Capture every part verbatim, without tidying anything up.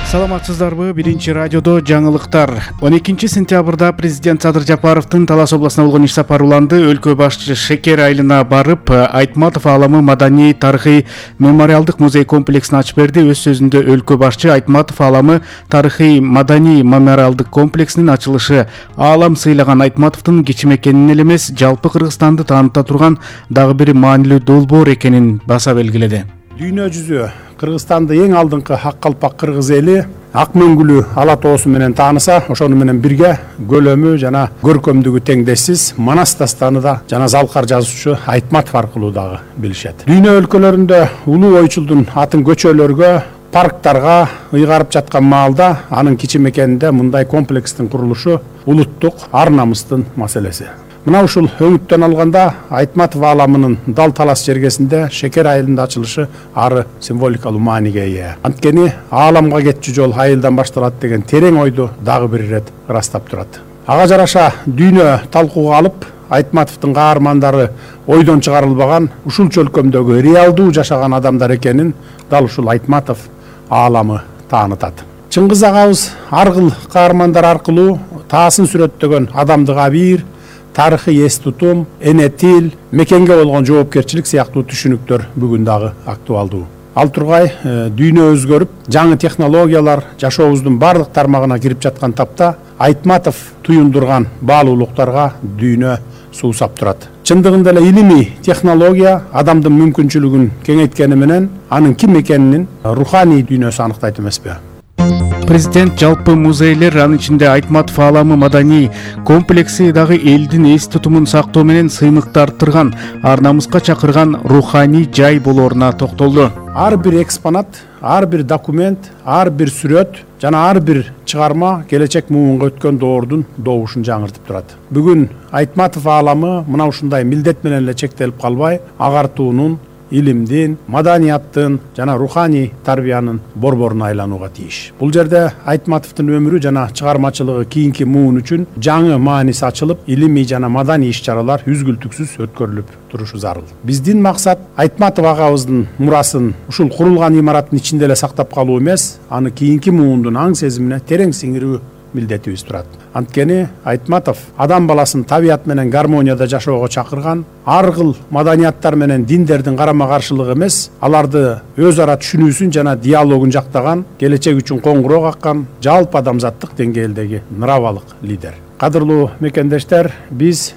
Саламатсыздарбы? Биринчи радиодо жаңылыктар. он экинчи сентябрда президент Садыр Жапаровдун Талас областына болгон иш сапары уланды. Өлкө башчы Шекер айылына барып, Айтматов ааламы маданий тарыхый мемориалдык музей комплексин ачып берди. Өз сөзүндө өлкө башчы Айтматов ааламы тарыхый маданий мемориалдык комплексинин ачылышы аалам сыйлаган Айтматовдун кичим экенин эле эмес, жалпы Кыргызстанды тааныта турган дагы бир маанилүү долбоор экенин баса белгиледи. Дүйнө жүзү Кыргызстанды эң алдыңкы ак калпак кыргыз эли ак мөңгүлүү ала тоосу менен тааныса, ошону менен бирге көлөмү жана көркөмдүгү теңдешсиз Манас дастаныда жана залкар жазуучу Айтматов аркылуу дагы билишет. Дүйнө өлкөлөрүндө улуу ойчулдун атын көчөлөргө, парктарга ыйгарып жаткан маалда анын кичим экенинде мындай комплекстин курулушу улуттук ар намыстын маселеси. Мына ушул өңүттөн алганда Айтматов ааламынын дал талас жергесинде Шекер айылында ачылышы ары символикалуу мааниге ээ. Анткени ааламга кетчү жол айылдан башталат деген терең ойду дагы бир ирет ырастап турат. Ага жараша дүйнө талкууга алып, Айтматовдун каармандары ойдон чыгарылбаган, ушул чөлкөмдөгү реалдуу жашаган адамдар экенин дал ушул Айтматов ааламы таанытат. Чыңгыз агабыз ар кыл каармандар аркылуу таасын сүрөттөгөн адамдык абийир, тарыхый эс тутум, эне тил, мекенге болгон жоопкерчилик сыяктуу түшүнүктөр бүгүн дагы актуалдуу. Ал тургай дүйнө өзгөрүп, жаңы технологиялар жашообуздун бардык тармагына кирип жаткан тапта Айтматов туюндурган баалуулуктарга дүйнө суусап турат. Чындыгында эле илимий технология адамдын мүмкүнчүлүгүн кеңейткени менен анын ким экенин руханий дүйнөсү аныктайт эмеспи? Президент жалпы музейлер, анын ичинде Айтматов ааламы маданий комплекси дагы элдин эс тутумун сактоо менен сыймыкты арттырган, ар намыска чакырган руханий жай болооруна токтолду. Ар бир экспонат, ар бир документ, ар бир сүрөт жана ар бир чыгарма келечек муунга өткөн доордун добушун жаңыртып турат. Бүгүн Айтматов ааламы мына ушундай милдет менен эле чектелип калбай, агартуунун, илимдин, маданияттын жана руханий тарбиянын борборуна айланууга тийиш. Бул жерде Айтматовдун өмүрү жана чыгармачылыгы кийинки муун үчүн жаңы мааниси ачылып, илимий жана маданий иш-чаралар үзгүлтүксүз өткөрүлүп турушу зарыл. Биздин максат Айтматов агабыздын мурасын ушул курулган имараттын ичинде эле сактап калуу эмес, аны кийинки муундун аң сезимине терең сиңирүү милдетибиз турат. Анткени Айтматов адам баласын табият менен гармонияда жашоого чакырган, ар кыл маданияттар менен диндердин карама каршылыгы эмес, аларды өз ара түшүнүүсүн жана диалогун жактаган, келечек үчүн коңгуроо каккан, жалпы адамзаттык деңгээлдеги ныравалык лидер. Кадырлуу мекендештер, биз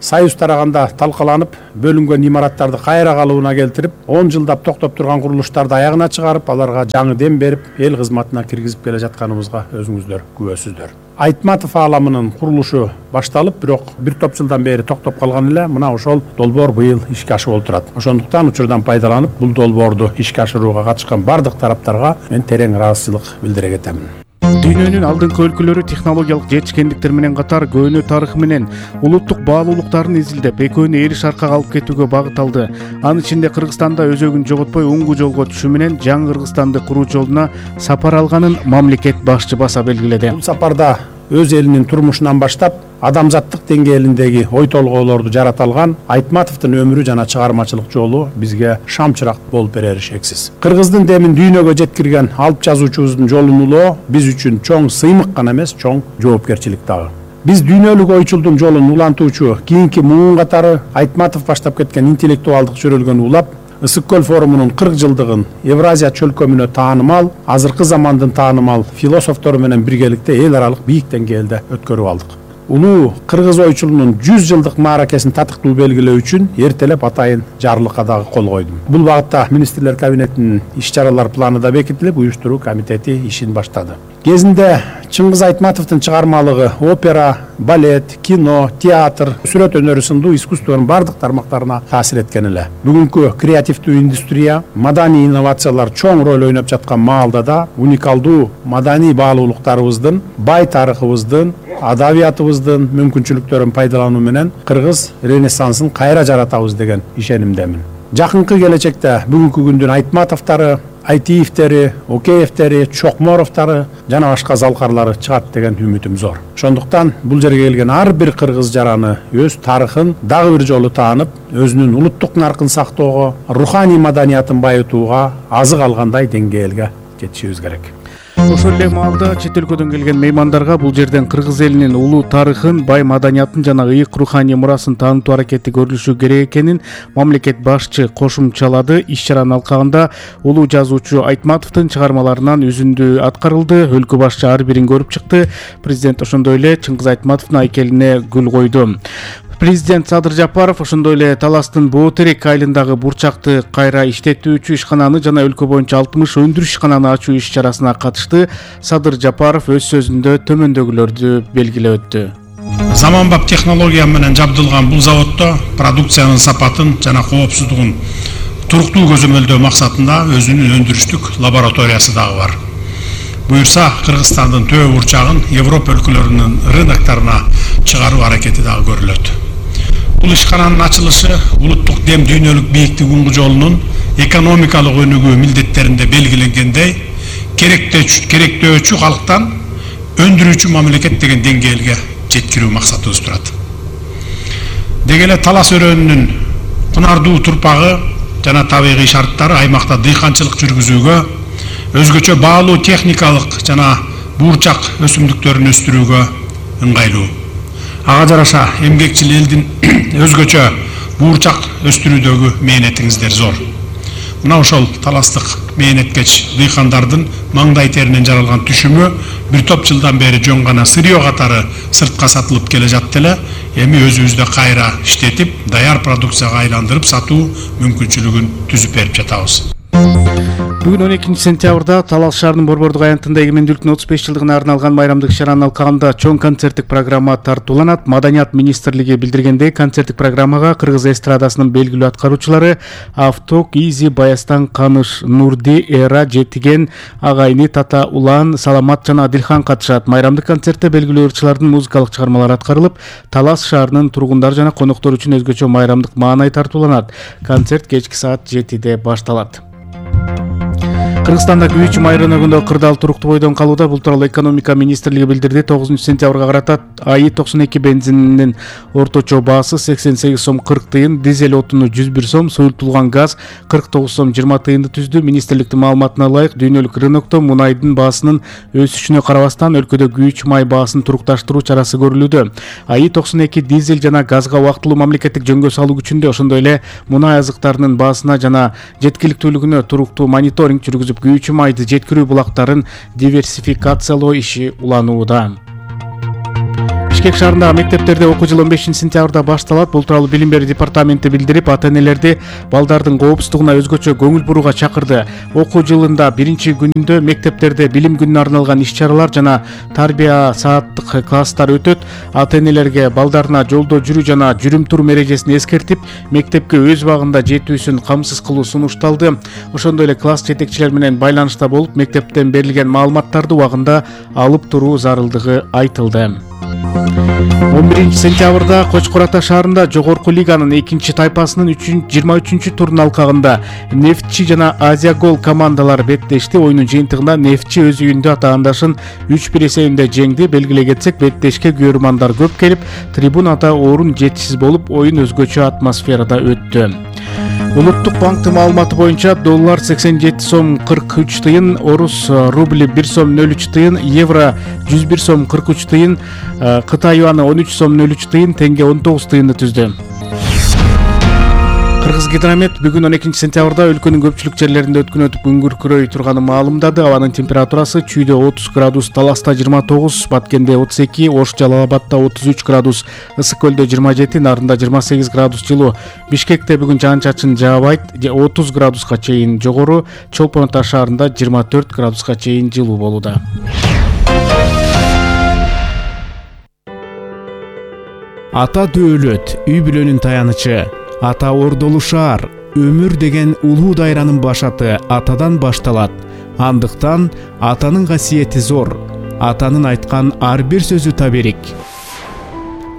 Союз тараганда талкаланып, бөлүнгөн имараттарды кайра калыбына келтирип, он жылдап токтоп турган курулуштарды аягына чыгарып, аларга жаңы дем берип, эл кызматына киргизип келе жатканыбызга өзүңүздөр күбөсүздөр. Айтматов ааламынын курулушу башталып, бирок бир топ жылдан бери токтоп калган эле, мына ошол долбоор быйыл ишке ашып отурат. Ошондуктан учурдан пайдаланып, бул долбоорду ишке ашырууга катышкан бардык тараптарга мен терең ыраазычылык билдире кетемин. Дүйнөнүн алдыңкы өлкөлөрү технологиялык жетишкендиктер менен катар көөнө тарыхы менен улуттук баалуулуктарын изилдеп, экөөнү эриш аркага алып кетүүгө багыт алды. Анын ичинде Кыргызстанда өзөгүн жоготпой оңгу жолго түшүү менен жаңы Кыргызстанды куруу жолуна сапар алганын мамлекет башчы баса белгиледи. Бул сапарда өз элинин турмушунан баштап, адамзаттык деңгээлиндеги ой толгоолорду жарата алган Айтматовдун өмүрү жана чыгармачылык жолу бизге шамчырак болуп берери шексиз. Кыргыздын демин дүйнөгө жеткирген алып жазуучубуздун жолун улоо биз үчүн чоң сыймык гана эмес, чоң жоопкерчилик дагы. Биз дүйнөлүк ойчулдун жолун улантуучу кийинки муун катары Айтматов баштап кеткен интеллектуалдык чөрөлгөн улап, Ысык көл форумунун кырк жылдыгын Евразия чөлкөмүнө таанымал, азыркы замандын таанымал философтору менен биргеликте эл аралык бийик деңгээлде өткөрүп алдык. Улуу кыргыз ойчулунун жүз жылдык мааракесин татыктуу белгилөө үчүн эртелеп атайын жарлыкка дагы кол койдум. Бул багытта министрлер кабинетинин иш-чаралар планы да бекитилип, уюштуруу комитети ишин баштады. Кезинде Чыңгыз Айтматовдун чыгармалыгы опера, балет, кино, театр, сүрөт өнөрү сындуу искусствонун бардык тармактарына таасир эткен эле. Бүгүнкү креативдүү индустрия, маданий инновациялар чоң роль ойноп жаткан маалда да уникалдуу маданий баалуулуктарыбыздын, бай тарыхыбыздын, адабиятыбыздын мүмкүнчүлүктөрүн пайдалануу менен кыргыз ренессансын кайра жаратабыз деген ишенимдемин. Жакынкы келечекте бүгүнкү күндүн Айтматовдары, Айтиевтери, Океевтери, Чокморовтары жана башка залкарлары чыгат деген үмүтүм зор. Ошондуктан бул жерге келген ар бир кыргыз жараны өз тарыхын дагы бир жолу таанып, өзүнүн улуттук наркын сактоого, руханий маданиятын байытууга азык алгандай деңгээлге жетишибиз керек. Ошол эле маалда чет өлкөдөн келген меймандарга бул жерден кыргыз элинин улуу тарыхын, бай маданиятын жана ыйык руханий мурасын таанытуу аракети көрүлүшү керек экенин мамлекет башчы кошумчалады. Иш-чаранын алкагында улуу жазуучу Айтматовдун чыгармаларынан үзүндү аткарылды. Өлкө башчы ар бирин көрүп чыкты. Президент ошондой эле Чыңгыз Айтматовдун айкелине гүл койду. Президент Садыр Жапаров ошондой эле Таластын Боотерек айылындагы бурчакты кайра иштетүүчү ишкананы жана өлкө боюнча алтымыш өндүрүш ишкананы ачуу иш-чарасына катышты. Садыр Жапаров өз сөзүндө төмөндөгүлөрдү белгилеп өттү. Заманбап технология менен жабдылган бул заводдо продукциянын сапатын жана коопсуздугун туруктуу көзөмөлдөө максатында өзүнүн өндүрүштүк лабораториясы дагы бар. Буюрса, Кыргызстандын төө бурчагын Европа өлкөлөрүнүн рыноктарына чыгаруу аракети дагы көрүлөт. Бул ишкананын ачылышы улуттук дем дүйнөлүк бийиктик уңгу жолунун экономикалык өнүгүү милдеттеринде белгиленгендей керектөөчү калктан өндүрүүчү мамлекет деген деңгээлге жеткирүү максатыбыз турат. Деги эле Талас өрөөнүнүн кунардуу турпагы жана табигый шарттары аймакта дыйканчылык жүргүзүүгө, өзгөчө баалуу техникалык жана буурчак өсүмдүктөрүн өстүрүүгө ыңгайлуу. Ага жараша эмгекчил элдин өзгөчө буурчак өстүрүүдөгү мээнетиңиздер зор. Мына ошол таластык мээнеткеч дыйкандардын маңдай теринен жаралган түшүмү бир топ жылдан бери жөн гана сырьё катары сыртка сатылып келе жатты эле, эми өзүбүздө кайра иштетип, даяр продукцияга айландырып сатуу мүмкүнчүлүгүн түзүп берип жатабыз. Бүгүн он экинчи сентябрда Талас шаарынын Борбордук аянтында эгемендүүлүктүн отуз беш жылдыгына арналган майрамдык иш-чаранын алкагында чоң концерттик программа тартууланат. Маданият министрлиги билдиргендей, концерттик программага кыргыз эстрадасынын белгилүү аткаруучулары Авток, Изи, Баястан, Каныш, Нурди, Эра, Жетиген, Агайны, Тата, Улан, Саламат жана Адилхан катышат. Майрамдык концертте белгилүү ырчылардын музыкалык чыгармалары аткарылып, Талас шаарынын тургундары жана коноктор үчүн өзгөчө майрамдык маанай тартууланат. Концерт кечки саат жетиде башталат. Кыргызстанда Күйүүчү май рыногунда кырдаал туруктуу бойдон калууда. Бул тууралуу экономика министрлиги билдирди. тогузунчу сентябрга карата АИ токсон эки бензининин орточо баасы сексен сегиз сом кырк тыйын, дизель отуну жүз бир сом, суюлтулган газ кырк тогуз сом жыйырма тыйынды түздү. Министрликтин маалыматына ылайык, дүйнөлүк рынокто мунайдын баасынын өсүшүнө карабастан өлкөдө күйүүчү май баасын турукташтыруу чарасы көрүлүүдө. АИ токсон эки дизель жана газга убактылуу мамлекеттик жөнгө салуу күчүндө, ошондой эле мунай азыктарынын баасына жана жеткиликтүүлүгүнө туруктуу мониторинг жүргүзүп, күйүүчү майды жеткирүү булактарын диверсификациялоо иши уланууда. Бишкек шаарындагы мектептерде окуу жылы он бешинчи сентябрда башталат. Бул тууралуу билим берүү департаменти билдирип, ата-энелерди балдардын коопсуздугуна өзгөчө көңүл бурууга чакырды. Окуу жылында биринчи күндө мектептерде билим күнүнө арналган иш-чаралар жана тарбия сааттык класстар өтөт. Ата-энелерге балдарына жолдо жүрүү жана жүрүм-турум эрежесин эскертип, мектепке өз убагында жетүүсүн камсыз кылуу сунушталды. Ошондой эле класс жетекчилер менен байланышта болуп, мектептен берилген маалыматтарды убагында алып туруу зарылдыгы айтылды. он биринчи сентябрда Кочкор Ата шаарында жогорку лиганын экинчи тайпасынын жыйырма үчүнчү турунун алкагында Нефтчи жана Азия Гол командалары беттешти. Оюнун жыйынтыгында Нефтчи өз үйүндө атаандашын үч бир эсебинде жеңди. Белгилей кетсек, беттешке көрөрмандар көп келип, трибунада орун жетишсиз болуп, оюн өзгөчө атмосферада өттү. Улуттук банктын маалыматы боюнча доллар сексен жети сом кырк үч тыйын, орус рубли бир сом нөл үч тыйын, евро жүз бир сом кырк үч тыйын, Кытай юаны он үч сом нөл үч тыйын, тенге он тогуз тыйынды түздү. Кыргыз гидромет бүгүн он экинчи сентябрда өлкөнүн көпчүлүк жерлеринде өткөн өтүп күн күркүрөй турганын маалымдады. Абанын температурасы Чүйдө отуз градус, Таласта жыйырма тогуз, Баткенде отуз эки, Ош Жалал Абадта отуз үч градус, Ысык Көлдө жыйырма жети, Нарында жыйырма сегиз градус жылуу. Бишкекте бүгүн жаан-чачын жаабайт, отуз градуска чейин жогору, Чолпон Ата шаарында жыйырма төрт градуска чейин жылуу болууда. Ата дөөлөт, үй бүлөнүн таянычы. Ата ордолу шаар, өмүр деген улуу дайранын башаты атадан башталат. Андыктан атанын касиети зор. Атанын айткан ар бир сөзү таберик.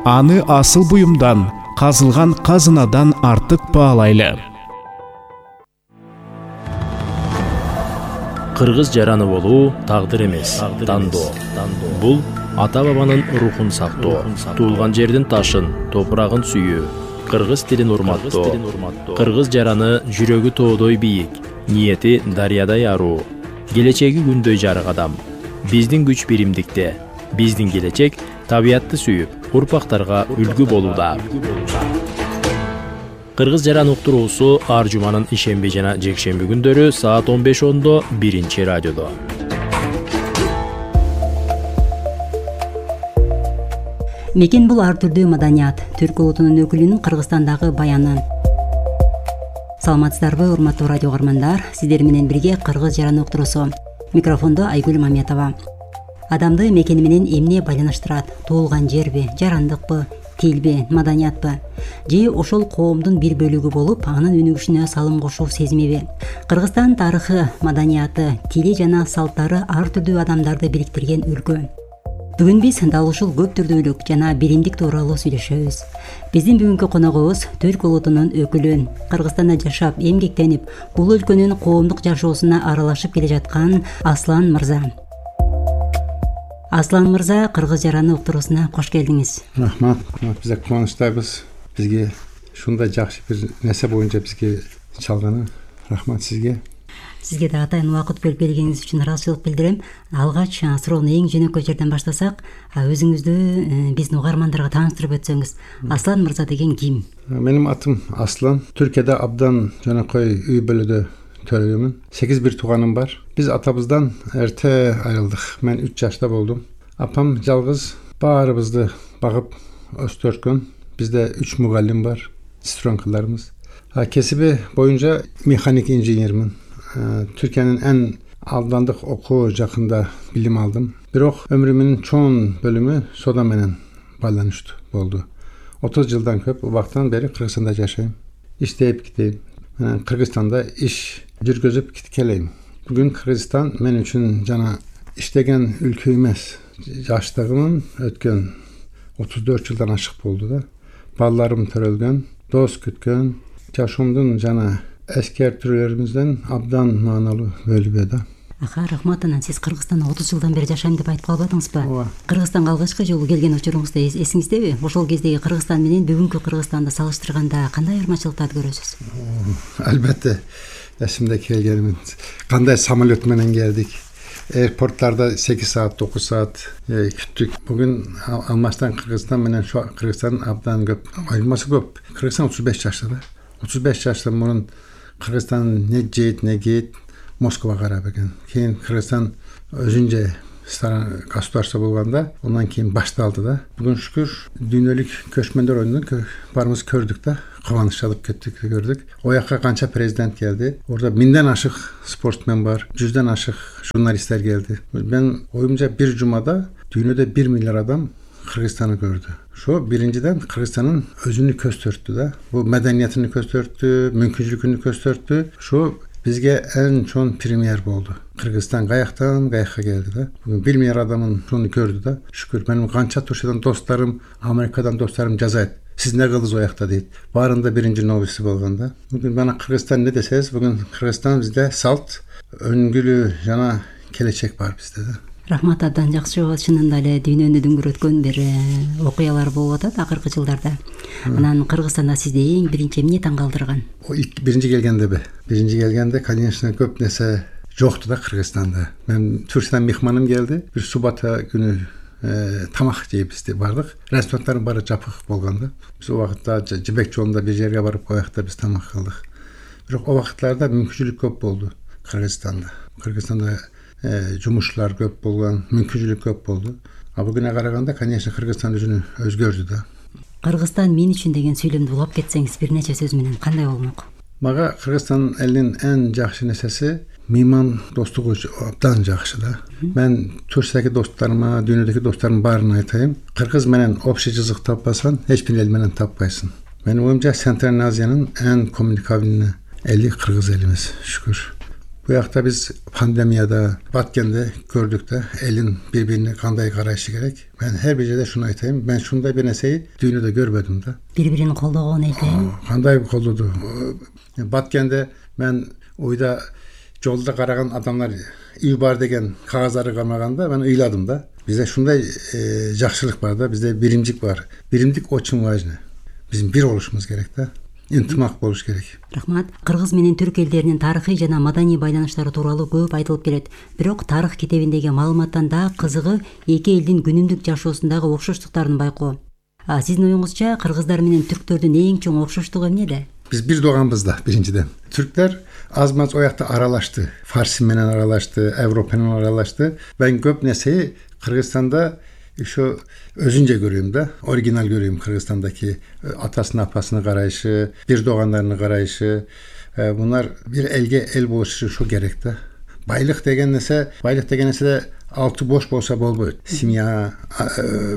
Аны асыл буюмдан, казылган казынадан артык баалайлы. Кыргыз жараны болуу тагдыр эмес, тандоо. Бул ата бабанын рухун сактоо, туулган жердин ташын, топурагын сүйүү, кыргыз тилин урматтоо. Кыргыз жараны жүрөгү тоодой бийик, ниети дарыядай аруу, келечеги күндөй жарык адам. биздин күч биримдикте, биздин келечек табиятты сүйүп, урпактарга үлгү болууда. Кыргыз жаран уктуруусу ар жуманын ишемби жана жекшемби күндөрү саат он беш ондо биринчи радиодо. Мекен бул ар түрдүү маданият, түрк улутунун өкүлүнүн Кыргызстандагы баяны. Саламатсыздарбы, урматтуу радио каармандар, сиздер менен бирге Кыргыз жаран уктуруусу. Микрофондо Айгүл Маметова. Адамды мекени менен эмне байланыштырат? Туулган жерби, жарандыкпы, тилби, маданиятпы? Же ошол коомдун бир бөлүгү болуп, анын өнүгүшүнө салым кошуу сезимиби? Кыргызстан тарыхы, маданияты, тили жана салттары ар түрдүү адамдарды бириктирген өлкө. Бүгүн биз дал ушул көп түрдүүлүк жана биримдик тууралуу сүйлөшөбүз. Биздин бүгүнкү коногубуз түрк улутунун өкүлү, Кыргызстанда жашап, эмгектенип, бул өлкөнүн коомдук жашоосуна аралашып келе жаткан Аслан мырза. Аслан мырза, Кыргыз жараны уктуруусуна кош келдиңиз. Рахмат. Биз кубанычтабыз. Бизге ушундай жакшы бир нерсе боюнча бизге чалганы. Рахмат сизге. Сизге да атайын убакыт бөлүп бергениңиз үчүн ыраазычылык билдирем. Алгач суроону эң жөнөкөй жерден баштасак, өзүңүздү биздин угармандарга тааныштырып өтсөңүз. Аслан мырза деген ким? Менин атым Аслан. Түркияда абдан жөнөкөй үй бүлөдө төрөгөмүн. сегиз бир тууганым бар. Биз атабыздан эрте айрылдык. Мен үч жашта болдум. Апам жалгыз баарыбызды багып өстөрткөн. Бизде үч мугалим бар, сестренкаларыбыз. Кесиби боюнча механик инженермин. Түркиянын эң алдандык окуу жакында билим алдым. Бирок өмүрүмдүн чоң бөлүмү сода менен байланыштуу болду. отуз жылдан көп убакыттан бери Кыргызстанда жашайм. Иштеп кетейм. Кыргызстанда иш жүргүзүп келейм. Бүгүн Кыргызстан мен үчүн жана иштеген өлкө эмес. Жаштыгымын өткөн отуз төрт жылдан ашык болду да. Балдарым төрөлгөн, дос күткөн, жашоомдун жана эскертүүлөрүбүздөн абдан мааналуу бөлүгү да. Аха, рахмат. Анан сиз Кыргызстанда отуз жылдан бери жашайм деп айтып калбадыңызбы? Ооба. Кыргызстанга алгачкы жолу келген учуруңузда эсиңиздеби? Ошол кездеги Кыргызстан менен бүгүнкү Кыргызстанды салыштырганда кандай айырмачылыктарды көрөсүз? Албетте, эсимде келгеним. Кандай самолет менен келдик. Аэропорттарда сегиз саат, токуз саат күттүк. Бүгүн алмаштан Кыргызстан менен Кыргызстан абдан көп. Айырмасы көп. Кыргызстан отуз беш жашта да. отуз беш жаштан мурун Кыргызстан не жейт, не кийет, Москвага карап экен. Кийин Кыргызстан өзүнчө государство болгондо, андан кийин башталды да. Бүгүн шүкүр дүйнөлүк көчмөндөр ойнунун барыбыз көрдүк да. Кубаныч алып кеттик, көрдүк. Оякка канча президент келди. Орда миңден ашык спортсмен бар, жүздөн ашык журналисттер келди. Мен оюмча бир жумада дүйнөдө бир миллиард адам Кыргызстанды көрдү. Шо биринчиден Кыргызстандын өзүнү көстөрттү да. Бул маданиятын көстөрттү, мүмкүнчүлүкүн көстөрттү. Шо бизге эң чоң премьер болду. Кыргызстан каяктан каякка келди да. Бүгүн бир миллиард адамын шуну көрдү да. Шүкүр, менин канча Туркиядан досторум, Америкадан досторум жазайт. Сиз не кылдыңыз оякта дейт. Баарында биринчи новости болгон да. Бүгүн мана Кыргызстан не десеңиз, бүгүн Кыргызстан бизде салт, өңгүлүү жана келечек бар бизде да. Рахмат, абдан жакшы. Чынында эле дүйнөнү дүңгүрөткөн бир окуялар болуп атат акыркы жылдарда. Анан Кыргызстанда сизди эң биринчи эмне таң калтырган? Биринчи келгендеби? Биринчи келгенде, конечно, көп нерсе жокту да Кыргызстанда. Мен Турциядан мехманым келди. Бир суббота күнү тамак жейбиз деп бардык. Ресторанттардын баары жапык болгон да. Биз у убакытта Жибек жолунда бир жерге барып, оякта биз тамак кылдык. Бирок у убакыттарда мүмкүнчүлүк көп болду Кыргызстанда. Кыргызстанда жумушчулар көп болгон, мүмкүнчүлүк көп болду. А бүгүнкүгө караганда, конечно, Кыргызстан өзүнү өзгөрдү да. Кыргызстан мен үчүн деген сүйлөмдү улап кетсеңиз бир нече сөз менен кандай болмок? Мага Кыргызстан элинин эң жакшы нерсеси мейман достугу абдан жакшы да. Мен Турциядагы досторума, дүйнөдөгү досторумдун баарына айтайм, кыргыз менен общий жазык таппасаң, эч бир эл менен таппайсың. Менин оюмча Центральный Азиянын эң коммуникабельный эли кыргыз элибиз, шүкүр. Бу жакта биз пандемияда баткенде көрдүк да, элин бири-бирине кандай карашы керек. Мен ар бир жерде шуну айтайм, мен ушундай бир нерсени дүйнөдө көрбөдүм да. Бири-бирин колдогон экен. Кандай колдоду? Баткенде мен ойда жолда караган адамдар үй бар деген кагаздарды кармаганда мен ыйладым да. Бизде шундай жакшылык бар да, бизде биримдик бар. Биримдик очень важно. Биздин бир болушубуз керек да. ынтымак болуш керек. Рахмат. Кыргыз менен түрк элдеринин тарыхый жана маданий байланыштары тууралуу көп айтылып келет. Бирок тарых китебиндеги маалыматтан да кызыгы эки элдин күнүмдүк жашоосундагы окшоштуктарын байкоо. Сиздин оюңузча кыргыздар менен түрктөрдүн эң чоң окшоштугу эмнеде? Биз бир тууганбыз да биринчиден. Түрктөр аз-маз оякта аралашты. Фарси менен аралашты, Европа менен аралашты. Мен көп нерсени Кыргызстанда ошо өзүнчө көрөм да, оригинал көрөм Кыргызстандагы атасына, апасына карайшы, бир туугандарына карайшы. Булар бир элге эл болушу ошо керек да. Байлык деген нерсе, байлык деген нерсе алты бош болсо болбойт. Семья,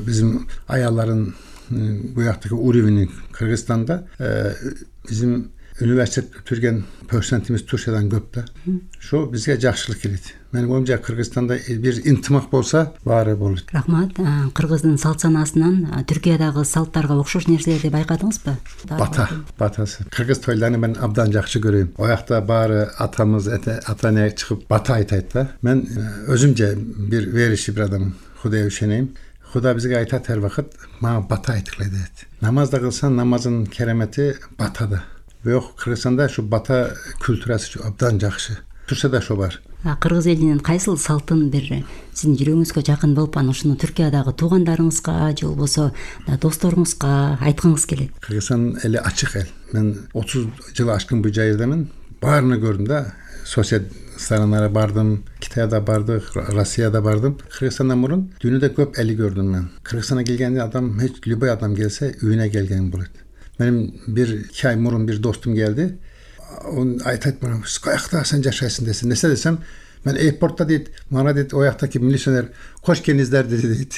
биздин аяллардын буяктагы уровени Кыргызстанда bizim üniversite бүтүрген процентimiz Türkiye'den көп да. Şu bizге жакшылык келет. Менин оюмча Кыргызстанда бир интимак болса, баары болот. Рахмат. Кыргыздын салт санаасынан Түркиядагы салттарга окшош нерселерди байкадыңызбы? Бата, батасы. Кыргыз тойларын мен абдан жакшы көрөм. Оякта баары атамыз, ата-эне чыгып бата айтат да. Мен өзүмчө бир вериши бир адам, Кудайга ишенем. Кудай бизге айтат ар вакыт, мага бата айткыла дейт. Намаз да кылсаң, намазын керемети батада. Бирок Кыргызстанда ушу бата культурасы абдан жакшы. Турса да ошо бар. Кыргыз элинин кайсыл салтын бир сиздин жүрөгүңүзгө жакын болуп, анан ушуну Түркиядагы туугандарыңызга же болбосо досторуңузга айткыңыз келет? Кыргызстан эли ачык эл. Мен отуз жыл ашкын бул жайырдамен, баарына көрдүм да. Сосед страналарга бардым, Китайда бардык, Россияда бардым. Кыргызстандан мурун дүйнөдө көп эли көрдүм мен. Кыргызстанга келгенде адам, эч любой адам келсе, үйүнө келген болот. Менин бир iki ай мурун бир достум келди. Он айтат мына, "Каякта сен жашайсың" десе. Несе десем, мен аэропортта дейт, мана дейт, ояктагы милиционер "Кош келиңиздер" деди дейт.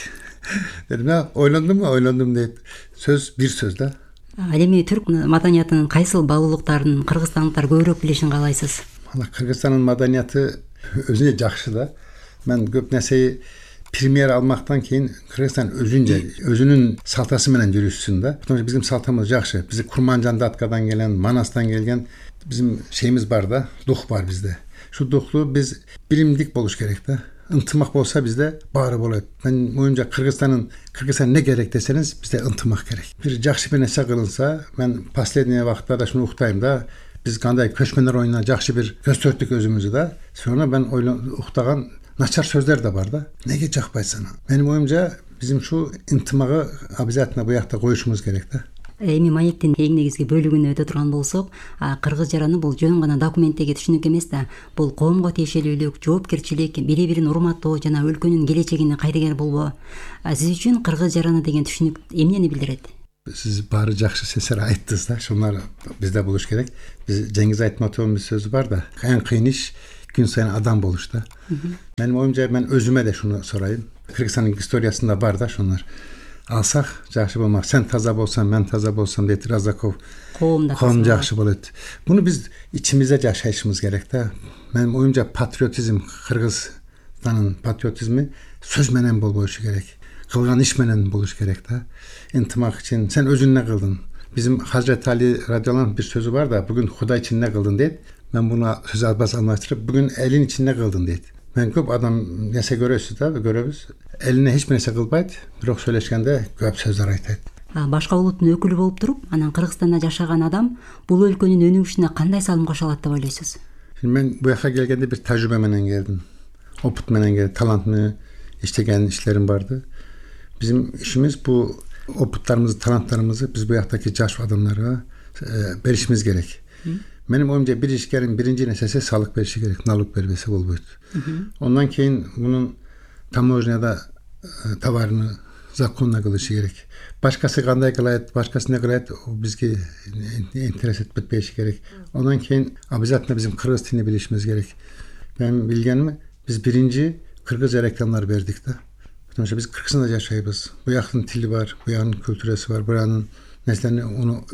Дедим, "Ойлондумбу? Ойлондум" дейт. Сөз бир сөз да. Ал эми түрк маданиятынын кайсыл баалуулуктарын кыргызстандыктар көбүрөөк билишин каалайсыз? Кыргызстандын маданияты өзүнө жакшы да. Мен көп нерсе премьер алмактан кийин Кыргызстан өзүнчө өзүнүн салтасы менен жүрүшсүн да. Потому что биздин салтымыз жакшы. Биз Курманжан Даткадан келген, Манастан келген биздин şeyimiz бар да, дух бар бизде. Шу духту биз билимдик болуш керек да. Ынтымак болса бизде баары болот. Мен оюмча Кыргызстандын Кыргызстан не керек десеңиз, бизде ынтымак керек. Бир жакшы бир нерсе кылынса, мен последний вакытта да шуну уктайм да. Биз кандай көчмөндөр оюнуна жакшы бир көзтөрттүк өзүмүздү да. Sonra мен уктаган начар сөздөр да бар да. Неге жакпайт сана? Менин оюмча биздин шу ынтымагы обязательно буякта коюшубуз керек да. Эми маектин эң негизги бөлүгүнө өтө турган болсок, кыргыз жараны бул жөн гана документтеги түшүнүк эмес да. Бул коомго тиешелүүлүк, жоопкерчилик, бири-бирин урматтоо жана өлкөнүн келечегине кайдыгер болбоо. Сиз үчүн кыргыз жараны деген түшүнүк эмнени билдирет? Сиз баары жакшы сөздөр айттыңыз да. Шунар бизде болуш керек. Биз Жеңиз Айтматовдун бир сөзү бар да. Эң кыйын иш күн сайын адам болуш да. Менин оюмча мен өзүмө да шуну сурайм. Кыргызстандын историясында бар да шунар. Алсак жакшы болмак. Сен таза болсаң, мен таза болсам дейт Разаков. Коомда коом жакшы болот. Буну биз ичимизде жашашыбыз керек да. Менин оюмча патриотизм, Кыргызстандын патриотизми сөз менен болбошу керек. Кылган иш менен болуш керек да. Интимак үчүн сен өзүңө кылдың. Bizim Hazreti Ali radıyallahu bir sözü var da bugün Huda için ne kıldın deyip ben buna söz albaz anlaştırıp bugün elin için ne kıldın deyip. Ben köp adam nese görüyorsunuz da görüyoruz. Eline hiç nese kılbaydı. Bирок söyleşkende köp sözler aytayt. Башка улуттун өкүлү болуп туруп, анан Кыргызстанда жашаган адам бул өлкөнүн өнүгүшүнө кандай салым кошо алат деп ойлойсуз? Ben bu yaka gelgende bir tecrübe menen geldim. Oput menen geldim. Talant mı iştegen işlerim vardı. Bizim işimiz bu oputlarımızı, talantlarımızı biz bu yaktaki yaş adamlara e, verişimiz gerek. Hı. Benim oyumca bir işgerin birinci nesesi sağlık verişi gerek, naluk vermesi bol boyut. Ondan keyin bunun tamoyada e, tavarını zakonla kılışı gerek. Başkası kanday kılayet, başkası ne kılayet o bizge interes etmesi gerek. Ondan keyin abizatla bizim Kırgız dilini bilişimiz gerek. Ben bilgenimi biz birinci Kırgız reklamlar verdik de. Потому biz Kırgızstanda yaşayız. Bu yakın dili var, bu yakın kültüresi var. Buranın neslerini onu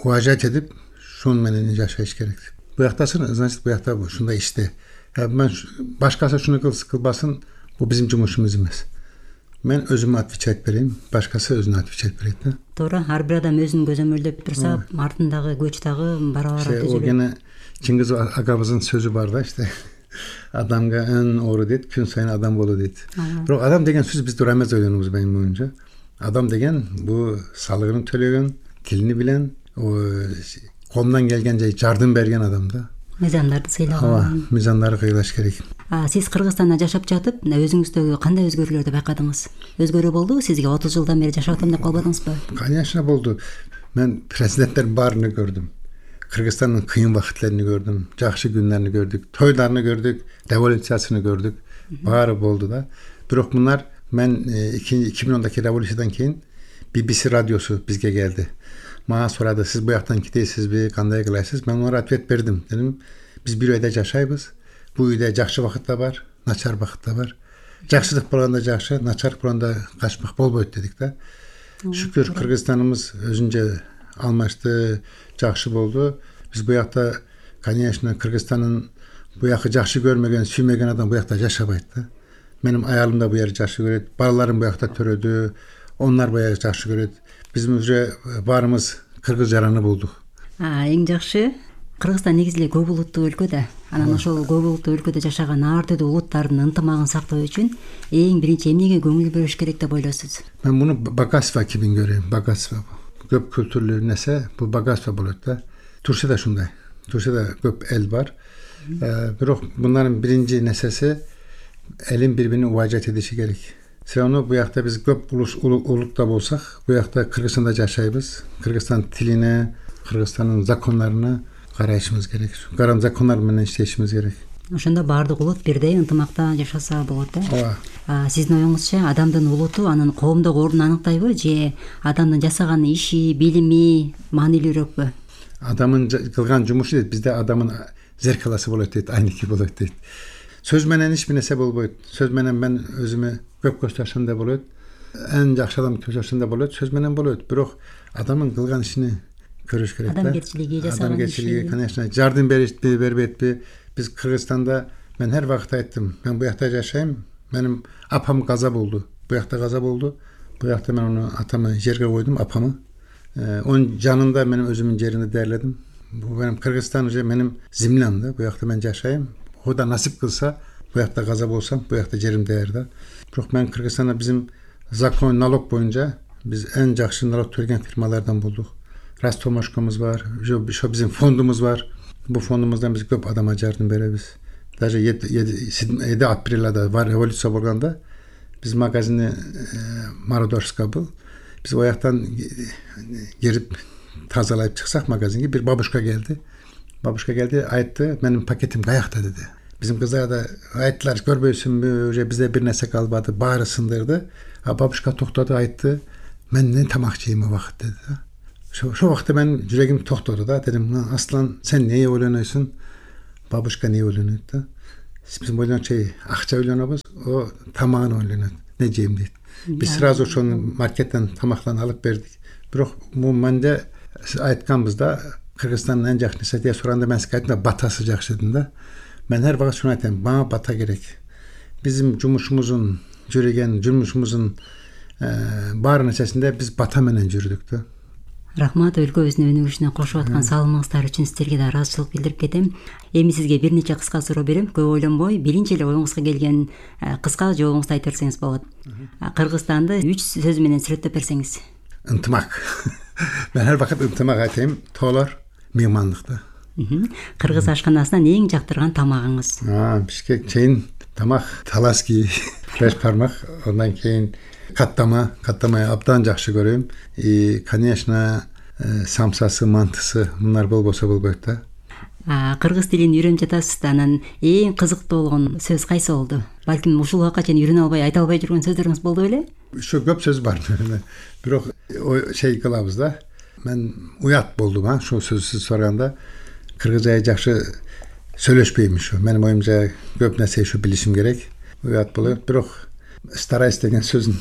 vacayet edip şunun menen yaşayış gerekti. Bu yaktasın, значит bu yakta bu. Şunda işte. Yani ben başkası şunu kılsın, kılbasın, bu bizim cumhurumuz emez. Men özüme atviçet vereyim, başkası özüne atviçet vereyim. Doğru, her bir adam özünü gözömürlep dursa, ardındağı, göçtağı, baravar işte, o gene Çingiz Agabız'ın sözü var da işte. Adamga en oğru deyit, gün sayın adam bolu deyit. Bırak adam degen söz biz duramaz oyunumuz benim oyunca. Adam degen bu sağlığını төлөгөн, tilini bilen, o колунан келгенче жардам берген адам да. Мыйзамдарды сыйлаган. Мыйзамдарды кыйлаш керек. Сиз Кыргызстанда жашап жатып, өзүңүздөгү кандай өзгөрүүлөрдү байкадыңыз? Өзгөрүү болдубу сизге? отуз жылдан бери жашап атам деп калбадыңызбы? Конечно болду. Мен президенттердин баарын көрдүм. Кыргызстандын кыйын убакытларын көрдүм, жакшы күндөрүн көрдүк, тойларын көрдүк, революциясын көрдүк. Баары болду да. Бирок мунар мен эки миң ондоки революциядан кийин би би си радиосу бизге келди. Мага сурады, сиз бу жактан кетесизби, кандай кыласыз? Мен аларга ответ бердим. Дедим, биз бир үйдө жашайбыз. Бул үйдө жакшы убакыт да бар, начар убакыт да бар. Жакшылык болгондо жакшы, начарлык болгондо качмак болбойт дедик да. Шүкүр, Кыргызстаныбыз өзүнчө алмашты, жакшы болду. Биз бу жакта, конечно, Кыргызстандын бу жакты жакшы көрмөгөн, сүймөгөн адам бу жакта жашабайт да. Менин аялым да бу жерди жакшы көрөт, балаларым бу жакта төрөдү, onlar бу жерди жакшы көрөт. Биз уже баарыбыз кыргыз жараны болдук. Эң жакшы. Кыргызстан негизи эле көп улуттуу өлкө да. Анан ошол көп улуттуу өлкөдө жашаган ар түрдүү улуттардын ынтымагын сактоо үчүн эң биринчи эмнеге көңүл бөлүш керек деп ойлойсуз? Мен муну богатство кебин көрөм, богатство. Көп kültürlүү нерсе, бул богатство болот да. Турсия да шундай. Турсияда көп эл бар. Бирок мунун биринчи нерсеси элин бири-бирине уважать эдиши керек. Все равно бу жакта биз көп улутта болсак, бу жакта Кыргызстанда жашайбыз. Кыргызстан тилине, Кыргызстандын закондоруна карашыбыз керек. Карам закондор менен иштешибиз керек. Ошондо баардык улут бирдей ынтымакта жашаса болот да. Ооба. Сиздин оюңузча адамдын улуту анын коомдогу ордун аныктайбы же адамдын жасаган иши, билими маанилүүрөөкпү? Адамдын кылган жумушу дейт, бизде адамдын зеркаласы болот дейт, айнеки болот дейт. Сөз менен эч бир нерсе болбойт. Сөз менен мен өзүмө көп көзташым да болот. Эң жакшы адам көзташым да болот, сөз менен болот. Бирок адамдын кылган ишини көрүш керек да. Адамгерчилиги, жасаган иши. Адамгерчилиги, конечно, жардам беришпи, бербейби? Биз Кыргызстанда мен ар вакыт айттым, мен бу жакта жашайм. Менин апам каза болду. Бу жакта каза болду. Бу жакта мен аны атамы жерге койдум, апамы. Onun жанында мен өзүмдүн жеримди дээрледим. Бу менин Кыргызстан уже менин землям да. Бу жакта мен жашайм. Кудай насип кылса, бу жакта каза болсам, бу жакта жерим даяр да. Бирок мен Кыргызстанда биздин закон налог боюнча биз эң жакшы налог төлөгөн фирмалардан болдук. Ростомошкомуз бар, ошо биздин фондумуз бар. Бу фондумуздан биз көп адамга жардам беребиз. Даже жети апрелда бар революция болгондо биз магазини Мародорска был. Биз о жактан кирип тазалап чыксак магазинге бир бабушка келди. Бабушка келди, айтты, менин пакетим каякта деди. Биздин кыздар да айттылар, көрбөйсүңбү, уже бизде бир нерсе калбады, баары сындырды. А бабушка токтоду, айтты, мен эмне тамак жейм убакыт деди да. Ошо убакта мен жүрөгүм токтоду да, дедим, Аслан, сен эмне ойлонойсуң? Бабушка эмне ойлонот да? Биз ойлончу акча ойлонобуз, о тамагын ойлонот, эмне жейм дейт. Биз сразу ошону маркеттен тамактан алып бердик. Бирок бул менде айтканбыз да, Кыргызстандын эң жакшы нерсе деп сураганда мен сизге айттым да, батасы жакшы дедим да. Мен ар вакыт шуну айтам, мага бата керек. Биздин жумушубуздун жүргөн, жумушубуздун баары нерсесинде биз бата менен жүрдүк да. Рахмат, өлкөбүздүн өнүгүшүнө кошуп аткан салымыңыздар үчүн сиздерге да ыраазычылык билдирип кетем. Эми сизге бир нече кыска суроо берем. Көп ойлонбой, биринчи эле оюңузга келген кыска жообуңузду айтып берсеңиз болот. Кыргызстанды үч сөз менен сүрөттөп берсеңиз. Ынтымак. Мен ар вакыт ынтымак айтайм, тоолор меймандыкта. Кыргыз ашканасынан эң жактырган тамагыңыз? Бишкек чейин тамак таласки, беш бармак, андан кийин каттама, каттама абдан жакшы көрөм. И, конечно, самсасы, мантысы, мунар болбосо болбойт да. Кыргыз тилин үйрөнүп жатасыз да, анан эң кызыктуу болгон сөз кайсы болду? Балким ушул убакка чейин үйрөнө албай, айта албай жүргөн сөздөрүңүз болду беле? Ушу көп сөз бар. Бирок şey кылабыз да. Мен уят болдум, а, ошол сөзсүз сураганда. Кыргызча жакшы сүйлөшпөйм ушу. Менин оюмча көп нерсе ушу билишим керек. Уят болот, бирок стараюсь деген сөзүн,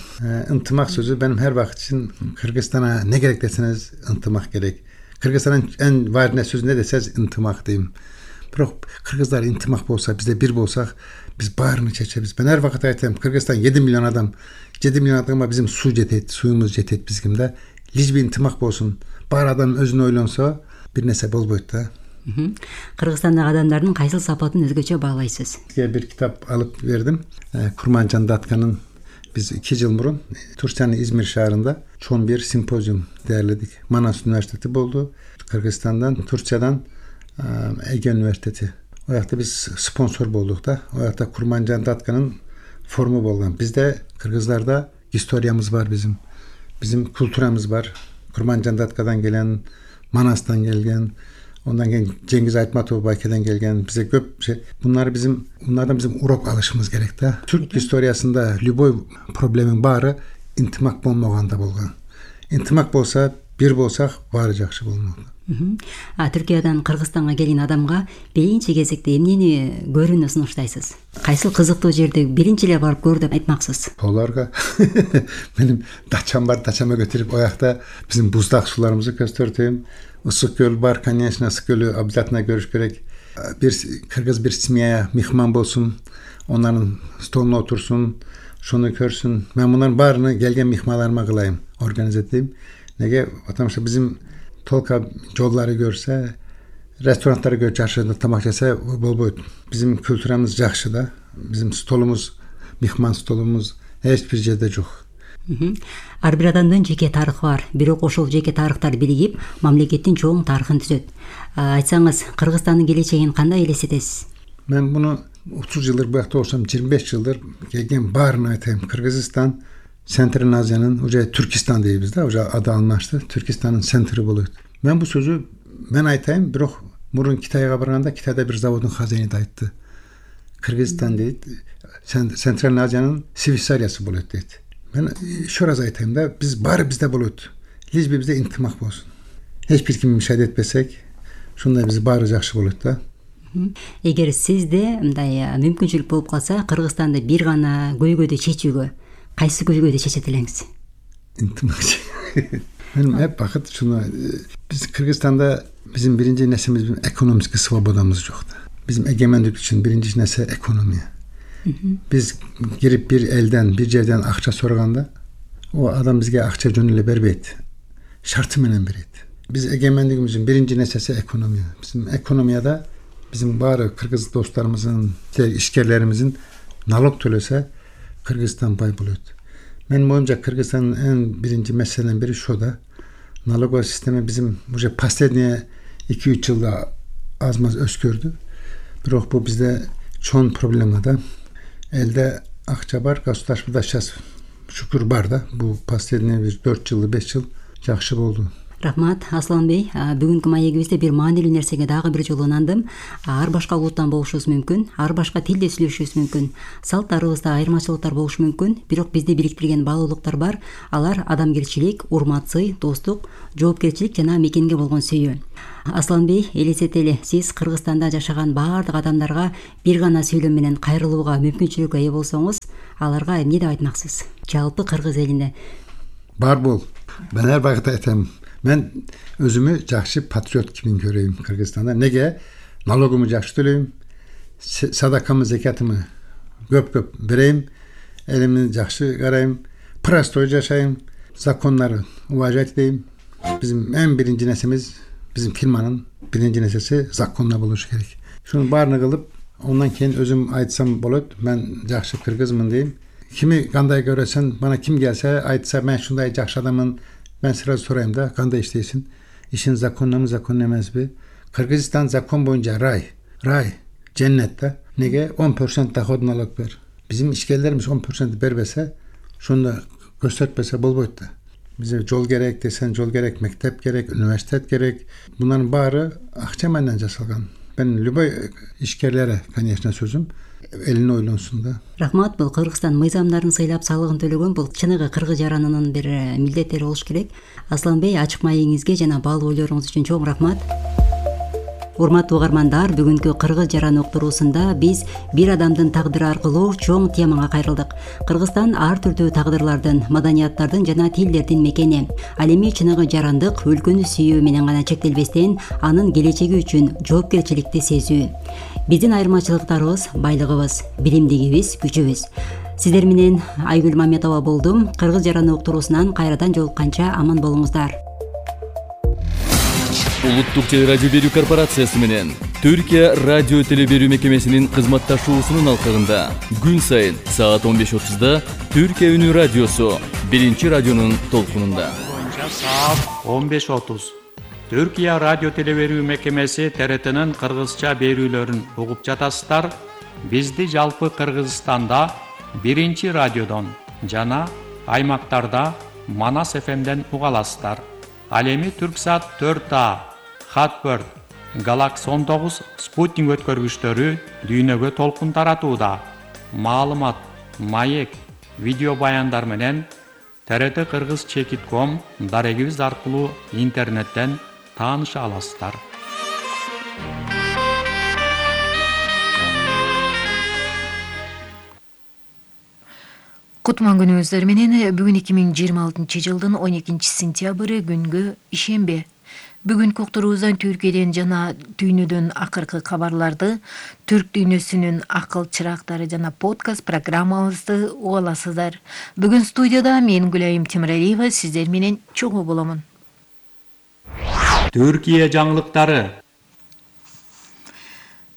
ынтымак сөзү менин ар вакыт үчүн Кыргызстана не керек десеңиз, ынтымак керек. Кыргызстандын эң важный сөзү не десеңиз, ынтымак дейм. Бирок кыргыздар ынтымак болсо, бизде бир болсак, биз баарын чечебиз. Мен ар вакыт айтам, Кыргызстан жети миллион адам, жети миллион адамга биздин суу жетет, суюбуз жетет бизгимде. Лишь би ынтымак болсун. Бар адам өзүн ойлонсо, бир нерсе болбойт да. Кыргызстандагы адамдардын кайсыл сапатын өзгөчө баалайсыз? Сизге бир китап алып бердим. Курманжан Датканын биз эки жыл мурун Турциянын Измир шаарында чоң бир симпозиум даярдадык. Манас университети болду. Кыргызстандан, Турциядан Эге университети. О жакта биз спонсор болдук да. О жакта Курманжан Датканын форуму болгон. Бизде кыргыздарда историямыз бар, bizim. Bizim культурамыз бар. Курманжан Даткадан келген, Манастан келген, ondan keyin Cengiz Aytmatov Bayke'den gelgen bize köp şey. Bunlar bizim, bunlardan bizim urok alışımız gerek de. Türk historiyasında любой problemin bari intimak bolmaganda bolgan. İntimak bolsa, bir bolsak bari жакшы болмок. А Түркиядан Кыргызстанга келген адамга биринчи кезекте эмнени көрүүнү сунуштайсыз? Кайсыл кызыктуу жерди биринчи эле барып көр деп айтмаксыз? Оларга менин дачам бар, дачама көтөрүп оякта биздин буздак суларыбызды көстөртөм. Ысык көл бар, конечно, ысык көлү обязательно көрүш керек. Бир кыргыз бир семья мехман болсун, onların столуна отурсун, шуну көрсүн. Мен мунун баарыны келген мехмандарыма кылайм, организация этейм. Неге? Потому что bizim толка жолдары көрсө, ресторандтарды көрүп жакшы тамак жесе болбойт. Bizim kültüramız жакшы да. Bizim столумуз, мехман столумуз эч бир жерде жок. Ар бир адамдын жеке тарыхы бар, бирок ошол жеке тарыхтар биригип мамлекеттин чоң тарыхын түзөт. Айтсаңыз, Кыргызстандын келечегин кандай элестетесиз? Мен муну отуз жылдыр буякта болсом, жыйырма беш жылдыр келген баарына айтайм. Кыргызстан Центральный Азиянын уже Түркистан дейбиз да, уже аты алмашты. Түркистанын центри болот. Мен бул сөзү мен айтайм, бирок мурун Китайга барганда Китайда бир заводдун хозяйны айтты. Кыргызстан дейт, Центральный Азиянын Швейцариясы болот дейт. Мен еще раз айтайм да, биз баары бизде болот. Лишь би бизде интимак болсун. Эч бир ким мишайт этпесек, шундай биз баары жакшы болот да. Эгер сизде мындай мүмкүнчүлүк болуп калса, Кыргызстанды бир гана көйгөйдү чечүүгө, кайсы көйгөйдү чечет элеңиз? Интимак. Мен эп бакыт шуну биз Кыргызстанда биздин биринчи нерсемиз экономический свободамыз жок да. Биздин эгемендик үчүн биринчи нерсе экономия. Biz girip bir elden, bir yerden akça sorganda o adam bizge akça jönüle berbeyt. Şartı menen bereyt. Biz egemenligimizin birinci nesnesi ekonomi. Bizim ekonomiyada bizim bari Kırgız dostlarımızın, işgerlerimizin nalog төлөсө Kırgızstan bay buluyor. Men boyunca Kırgızstan'ın en birinci meseleden biri şu da nalog sistemi bizim bu последние iki üç yılda azmaz özgürdü. Бирок bu bizde çoğun problemada elde акча бар, государствода сейчас шүкүр бар да. Бул последние bir dört жылы, beş жыл жакшы болду. Рахмат, Асланбей. Бүгүнкү маегибизде бир маанилүү нерсеге дагы бир жолу ынандым. Ар башка улуттан болушубуз мүмкүн, ар башка тилде сүйлөшүшүбүз мүмкүн, салттарыбызда айырмачылыктар болушу мүмкүн, бирок бизди бириктирген баалуулуктар бар. Алар адамгерчилик, урмат, сый, достук, жоопкерчилик жана мекенге болгон сүйүү. Асланбей, элестетели, сиз Кыргызстанда жашаган баардык адамдарга бир гана сүйлөм менен кайрылууга мүмкүнчүлүккө ээ болсоңуз, аларга эмне деп айтмаксыз? Жалпы Кыргыз элине. Бар бол. Мен ар багытта айтам. Мен өзүмү жакшы патриот кимин көрөйм Кыргызстанда. Неге? Налогуму жакшы төлөйм, садакамы, закатымы көп-көп берейм, элимди жакшы карайм, простой жашайм, закондарды уважать этейм. Биздин эң биринчи нерсемиз, биздин фирманын биринчи нерсеси законда болушу керек. Шуну баарын кылып, ondan keyin özüm айтсам болот, мен жакшы кыргызмын дейм. Кими кандай көрөсөң, бана ким келсе, айтса мен шундай жакшы адаммын, ben сразу sorayım da, kanda işteysin. İşin zakonla mı, zakon emezbi? Kırgızistan zakon boyunca ray, ray, cennette. Nege? on prosent dahod nalog ver. Bizim işgallerimiz on prosent berbese, şunu da göstermese bol boyutta. Bize yol gerek desen, yol gerek, mektep gerek, üniversite gerek. Bunların bari akçamayla jasalgan. Ben любой işgerlere, конечно, sözüm. Элине ойлонсун да. Рахмат, бул Кыргызстан мыйзамдарын сыйлап салыгын төлөгөн бул чыныгы кыргыз жаранынын бир милдеттери болуш керек. Асланбей, ачык маегиңизге жана баалуу ойлоруңуз үчүн чоң рахмат. Урматтуу угармандар, бүгүнкү Кыргыз жаран уктуруусунда биз бир адамдын тагдыры аркылуу чоң темага кайрылдык. Кыргызстан ар түрдүү тагдырлардын, маданияттардын жана тилдердин мекени. Ал эми чыныгы жарандык өлкөнү сүйүү менен гана чектелбестен, анын келечеги үчүн жоопкерчиликти сезүү. Биздин айырмачылыктарыбыз, байлыгыбыз, билимдигибиз, күчүбүз. Сиздер менен Айгүл Маметова болдум. Кыргыз жаран уктуруусунан кайрадан жолукканча аман болуңуздар. Улуттук телерадио берүү корпорациясы менен Түркия радио телеберүү мекемесинин кызматташуусунун алкагында күн сайын саат он беш отузда Түркия үнү радиосу биринчи радионун толкунунда. Саат он беш отуз. Түркия радио телеберүү мекемеси Т Р Т'нын кыргызча берүүлөрүн угуп жатасыздар. Бизди жалпы Кыргызстанда биринчи радиодон жана аймактарда Манас эф эмден уга аласыздар. Ал эми Түрксат төрт А, Хатберт, Галакс он тогуз спутник өткөргүчтөрү дүйнөгө толкун таратууда. Маалымат, маек, видео баяндар менен Т Р Т кыргыз чекит ком дарегибиз аркылуу интернеттен тааныша аласыздар. Кутман күнүңүздөр менен. Бүгүн эки миң жыйырма алтынчы жылдын он экинчи сентябры күнгө ишемби. Бүгүнкү уктуруубуздан Түркияден жана дүйнөдөн акыркы кабарларды, түрк дүйнөсүнүн акыл чырактары жана подкаст программабызды уга аласыздар. Бүгүн студияда мен Гүлайым Темиралиева сиздер менен чогуу боломун. Түркия жаңылыктары.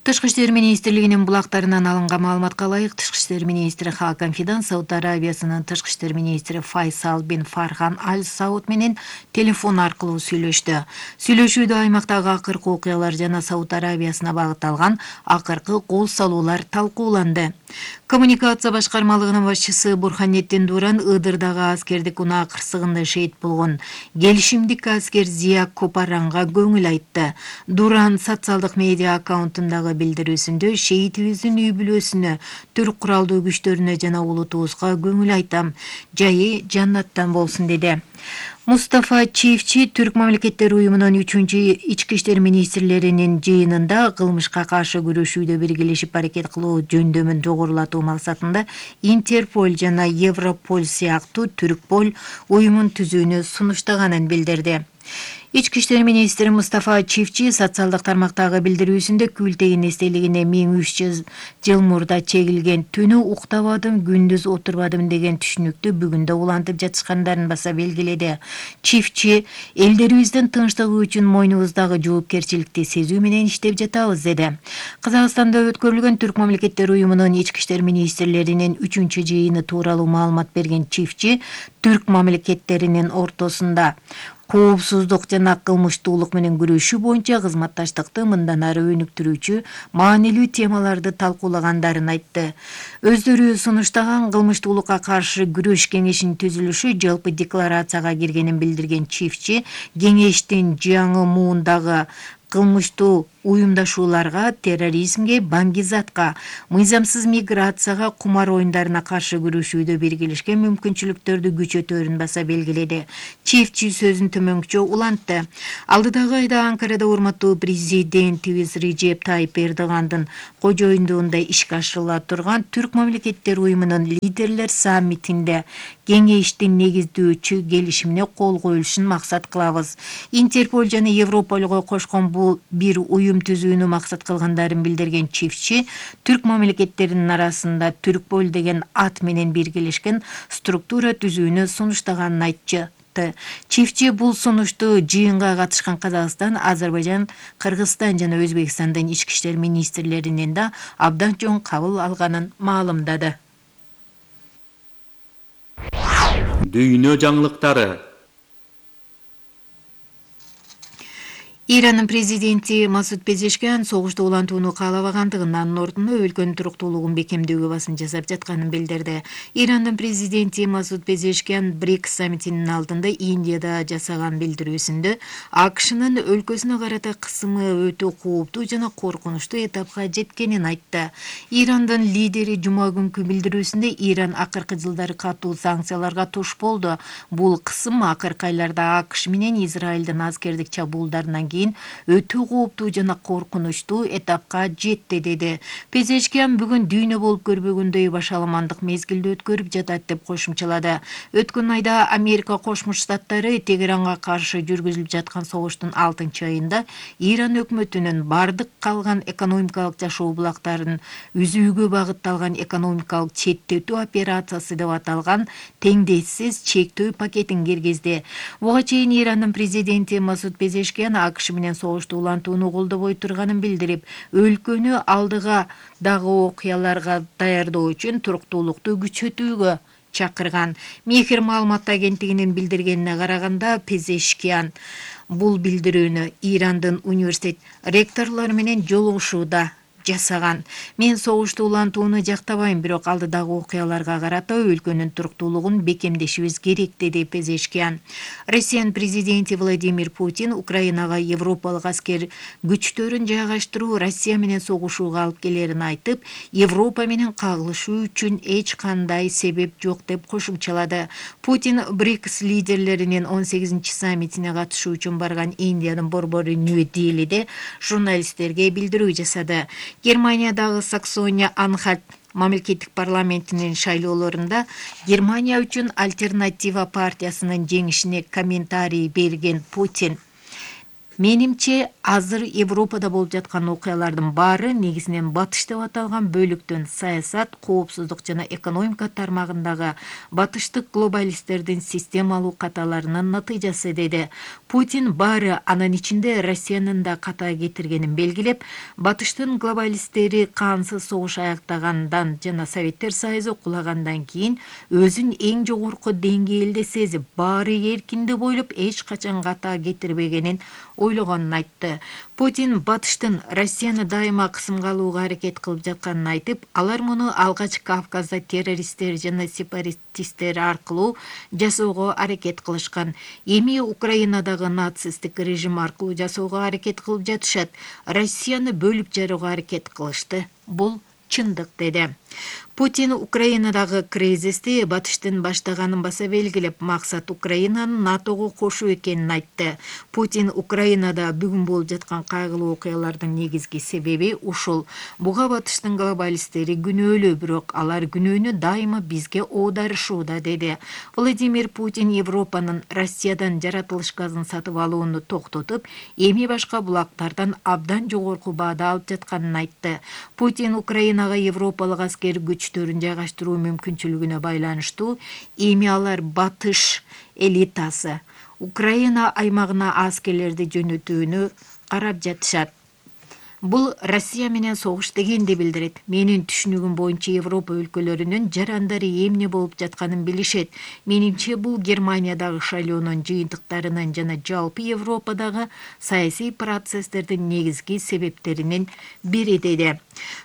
Тышкы иштер министрлигинин булактарынан алынган маалыматка ылайык, Тышкы иштер министри Хакан Фидан Сауд Арабиясынын тышкы иштер министри Файсал бин Фархан Аль Сауд менен телефон аркылуу сүйлөштү. Сүйлөшүүдө аймактагы акыркы окуялар жана Сауд Арабиясына багытталган акыркы кол салуулар талкууланды. Коммуникация башкармалыгынын башчысы Бурханеттин Дуран Ыдырдагы аскердик унаа кырсыгында шейит болгон келишимдик аскер Зия Копаранга көңүл айтты. Дуран социалдык медиа аккаунтундагы билдирүүсүндө шейитибиздин үй бүлөсүнө, түрк куралдуу күчтөрүнө жана улутубузга көңүл айтам. Жайы жаннаттан болсун деди. Мустафа Чифчи Түрк мамлекеттери уюмунун үчүнчү ички иштер министрлеринин жыйынында кылмышка каршы күрөшүүдө биргелешип аракет кылуу жөндөмүн жогорулатуу максатында Интерпол жана Европол сыяктуу Түркпол уюмун түзүүнү сунуштаганын билдирди. Ички иштер министри Мустафа Чифчи социалдык тармактагы билдирүүсүндө Күлтегин эстелигине миң үч жүз жыл мурда чегилген түнү уктабадым, күндүз отурбадым деген түшүнүктү бүгүн да улантып жатышкандарын баса белгиледи. Чифчи элдерибиздин тынчтыгы үчүн мойнубуздагы жоопкерчиликти сезүү менен иштеп жатабыз деди. Казакстанда өткөрүлгөн Түрк мамлекеттери уюмунун ички иштер министрлеринин үчүнчү жыйыны тууралуу маалымат берген Чифчи түрк мамлекеттеринин ортосунда коопсуздук жана кылмыштуулук менен күрөшүү боюнча кызматташтыкты мындан ары өнүктүрүүчү маанилүү темаларды талкуулагандарын айтты. Өздөрү сунуштаган кылмыштуулукка каршы күрөш кеңешинин түзүлүшү жалпы декларацияга киргенин билдирген Чифчи кеңештин жаңы муундагы кылмыштуу уюмдашууларга, терроризмге, баңгизатка, мыйзамсыз миграцияга, кумар оюндарына каршы күрөшүүдө биргелешкен мүмкүнчүлүктөрдү күчөтөөрүн баса белгиледи. Чифчи сөзүн төмөнкүчө улантты. Алдыдагы айда Анкарада урматтуу президентибиз Режеп Тайып Эрдогандын кожоюндугунда ишке ашырыла турган Түрк мамлекеттери уюмунун лидерлер саммитинде кеңештин негиздөөчү келишимине кол коюлушун максат кылабыз. Интерпол жана Европолго кошкон бул бир уюм түзүүнү максат кылгандарын билдирген Чифчи түрк мамлекеттеринин арасында Түркпол деген ат менен биргелешкен структура түзүүнү сунуштаганын айтчы. Чифчи бул сунушту жыйынга катышкан Казакстан, Азербайжан, Кыргызстан жана Өзбекстандын ички иштер министрлеринин да абдан чоң кабыл алганын маалымдады. Дүйнө жаңылыктары. Иранын президенти Масуд Пезешкиан согушту улантууну каалабагандыгын, анын ордуна өлкөнүн туруктуулугун бекемдөөгө басым жасап жатканын билдирди. Ирандын президенти Масуд Пезешкиан БРИКС саммитинин алдында Индияда жасаган билдирүүсүндө АКШнын өлкөсүнө карата кысымы өтө кооптуу жана коркунучтуу этапка жеткенин айтты. Ирандын лидери жума күнкү билдирүүсүндө Иран акыркы жылдары катуу санкцияларга туш болду. Бул кысым акыркы айларда АКШ менен Израилдин аскердик чабуулдарынан кийин өтө кооптуу жана коркунучтуу этапка жетти деди. Пезешкиан бүгүн дүйнө болуп көрбөгөндөй башаламандык мезгилди өткөрүп жатат деп кошумчалады. Өткөн айда Америка Кошмо Штаттары Тегеранга каршы жүргүзүлүп жаткан согуштун алтынчы айында Иран өкмөтүнүн бардык калган экономикалык жашоо булактарын үзүүгө багытталган экономикалык четтетүү операциясы деп аталган теңдессиз чектөө пакетин киргизди. Буга чейин Ирандын президенти Масуд Пезешкиан АКШ менен согушту улантууну колдобой турганын билдирип, өлкөнү алдыга дагы окуяларга даярдоо үчүн туруктуулукту күчөтүүгө чакырган. Мехир маалымат агенттигинин билдиргенине караганда, Пезешкиан Бул билдирүүнү Ирандын университет ректорлору менен жолугушууда жасаган. Мен согушту улантууну жактабайм, бирок алдыдагы окуяларга карата өлкөнүн туруктуулугун бекемдешибиз керек, деди Пезешкиан. Россиянын президенти Владимир Путин Украинага европалык аскер күчтөрүн жайгаштыруу Россия менен согушууга алып келерин айтып, Европа менен кагылышуу үчүн эч кандай себеп жок деп кошумчалады. Путин БРИКС лидерлеринин он сегизинчи саммитине катышуу үчүн барган Индиянын борбору Нью-Делиде журналисттерге билдирүү жасады. Германиядагы Саксония-Анхальт мамлекеттик парламентинин шайлоолорунда Германия үчүн Альтернатива партиясынын жеңишине комментарий берген Путин: "Менимче, азыр Европада болуп жаткан окуялардын баары негизинен батыш деп аталган бөлүктөн саясат, коопсуздук жана экономика тармагындагы батыштык глобалисттердин системалуу каталарынын натыйжасы", деди. Путин баары анын ичинде Россиянын да ката кетиргенин белгилеп, батыштын глобалисттери кансыз согуш аяктагандан жана Советтер Союзу кулагандан кийин өзүн эң жогорку деңгээлде сезип, баары эркиндеп ойлоп, эч качан ката кетирбегенин ойлогонун айтты. Путин батыштын Россияны дайыма кысымга алууга аракет кылып жатканын айтып, алар муну алгач Кавказда террористтер жана сепаратисттер аркылуу жасоого аракет кылышкан. Эми Украинадагы нацисттик режим аркылуу жасоого аракет кылып жатышат. Россияны бөлүп жарууга аракет кылышты. Бул чындык, деди. Путин Украинадагы кризисти батыштын баштаганын баса белгилеп, максат Украинаны НАТОго кошуу экенин айтты. Путин Украинада бүгүн болуп жаткан кайгылуу окуялардын негизги себеби ушул. Буга батыштын глобалисттери күнөөлүү, бирок алар күнөөнү дайыма бизге оодарышууда, деди. Владимир Путин Европанын Россиядан жаратылыш газын сатып алууну токтотуп, эми башка булактардан абдан жогорку баада алып жатканын айтты. Путин Украинага европалык аскер күчтөрүн жайгаштыруу мүмкүнчүлүгүнө байланыштуу эми алар батыш элитасы Украина аймагына аскерлерди жөнөтүүнү карап жатышат. Бул Россия менен согуш дегенди билдирет. Менин түшүнүгүм боюнча Европа өлкөлөрүнүн жарандары эмне болуп жатканын билишет. Менимче, бул Германиядагы шайлоонун жыйынтыктарынын жана жалпы Европадагы саясий процесстердин негизги себептеринин бири, деди.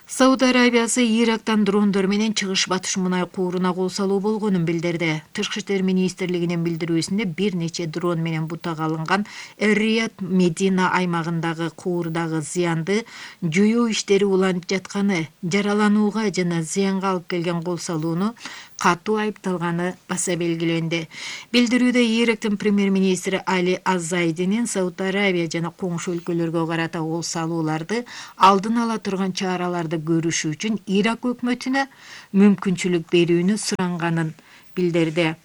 Сауд Арабиясы Ирактан дрондор менен чыгыш батыш мунай кууруна кол салуу болгонун билдирди. Тышкы иштер министрлигинин билдирүүсүндө бир нече дрон менен бутага алынган Эр-Рияд Медина аймагындагы куурдагы зыянды жоюу иштери уланып жатканы, жараланууга жана зыянга алып келген кол салууну катуу айыпталганы баса белгиленди. Билдирүүдө Ирактын премьер-министри Али Аззайдинин Сауд Арабия жана коңшу өлкөлөргө карата кол салууларды алдын ала турган чараларды көрүшү үчүн Ирак өкмөтүнө мүмкүнчүлүк берүүнү суранганын билдирди.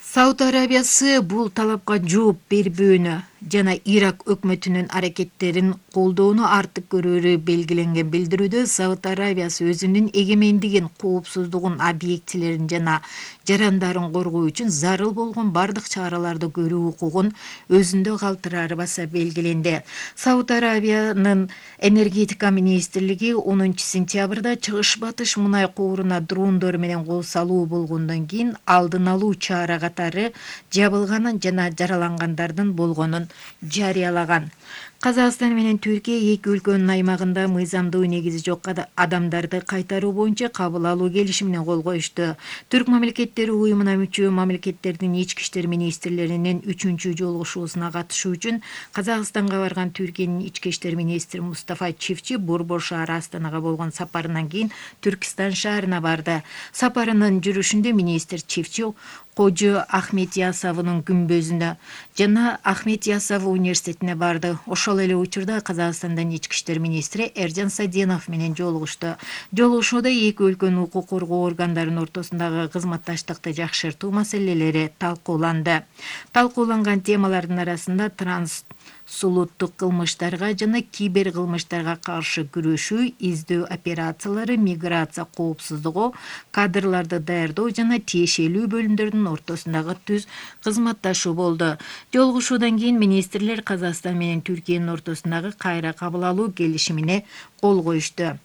Сауд Арабиясы бул талапка жооп бербөөнү жана Ирак өкмөтүнүн аракеттерин колдоону артык көрүүрү белгиленген билдирүүдө Сауд Арабиясы өзүнүн эгемендигин, коопсуздугун, объектилерин жана жарандарын коргоо үчүн зарыл болгон бардык чараларды көрүү укугун өзүндө калтырары баса белгиленди. Сауд Арабиянын энергетика министрлиги онунчу сентябрда чыгыш батыш мунай кууруна дрондор менен кол салуу болгондон кийин алдын алуу чара катары жабылганын жана жаралангандардын болгонун жарыялаган. Казакстан менен Түркия эки өлкөнүн аймагында мыйзамдуу негизи жок адамдарды кайтаруу боюнча кабыл алуу келишимине кол коюшту. Түрк мамлекеттери уюмуна мүчө мамлекеттердин ички иштер министрлеринин үчүнчү жолугушуусуна катышуу үчүн Казакстанга барган Түркиянын ички иштер министри Мустафа Чивчи борбор шаары Астанага болгон сапарынан кийин Түркистан шаарына барды. Сапарынын жүрүшүндө министр Чивчи Кожо Ахмет Ясавынын күмбөзүнө жана Ахмет Ясав университетине барды. Ошол эле учурда Казакстандын ички иштер министри Эржан Саденов менен жолугушту. Жолугушууда эки өлкөнүн укук коргоо органдарынын ортосундагы кызматташтыкты жакшыртуу маселелери талкууланды. Талкууланган темалардын арасында транс сулуттук кылмыштарга жана кибер кылмыштарга каршы күрөшүү, издөө операциялары, миграция коопсуздугу, кадрларды даярдоо жана тиешелүү бөлүмдөрдүн ортосундагы түз кызматташуу болду. Жолугушуудан кийин министрлер Казакстан менен Түркиянын ортосундагы кайра кабыл алуу келишимине кол коюшту.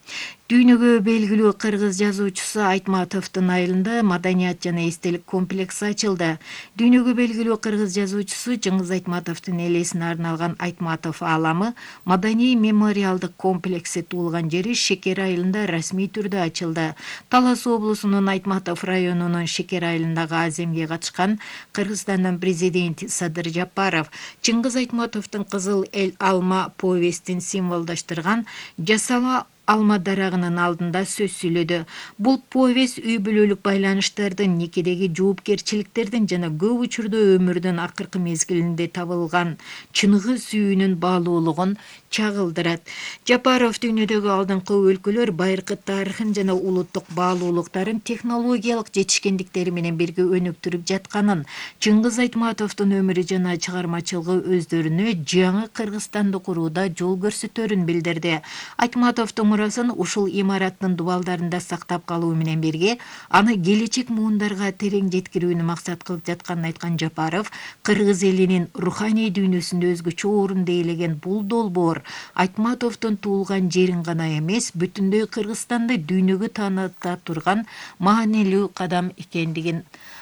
Дүйнөгө белгилүү кыргыз жазуучусу Айтматовдун айылында маданият жана эстелик комплекси ачылды. Дүйнөгө белгилүү кыргыз жазуучусу Жыңгыз Айтматовдун элесине арналган Айтматов ааламы маданий мемориалдык комплекси туулган жери Шекер айылында расмий түрдө ачылды. Талас облусунун Айтматов районунун Шекер айылындагы аземге катышкан Кыргызстандын президенти Садыр Жапаров Жыңгыз Айтматовдун Кызыл эл алма повестин символдоштурган жасала алма дарагынын алдында сөз сүйлөдү. Бул повест үй бүлөлүк байланыштардын, никедеги жоопкерчиликтердин жана көп учурда өмүрдүн акыркы мезгилинде табылган чыныгы сүйүүнүн баалуулугун чагылдырат. Жапаров дүйнөдөгү алдыңкы өлкөлөр байыркы тарыхын жана улуттук баалуулуктарын технологиялык жетишкендиктери менен бирге өнүктүрүп жатканын, Жыңгыз Айтматовдун өмүрү жана чыгармачылыгы өздөрүнө жаңы Кыргызстанды курууда жол көрсөтөрүн билдирди. Айтматовдун мурасын ушул имараттын дубалдарында сактап калуу менен бирге аны келечек муундарга терең жеткирүүнү максат кылып жатканын айткан Жапаров, кыргыз элинин руханий дүйнөсүндө өзгөчө орунду ээлеген бул долбоор Айтматовдун туулган жерин гана эмес, бүтүндөй Кыргызстанды дүйнөгө тааныта турган маанилүү кадам экендигин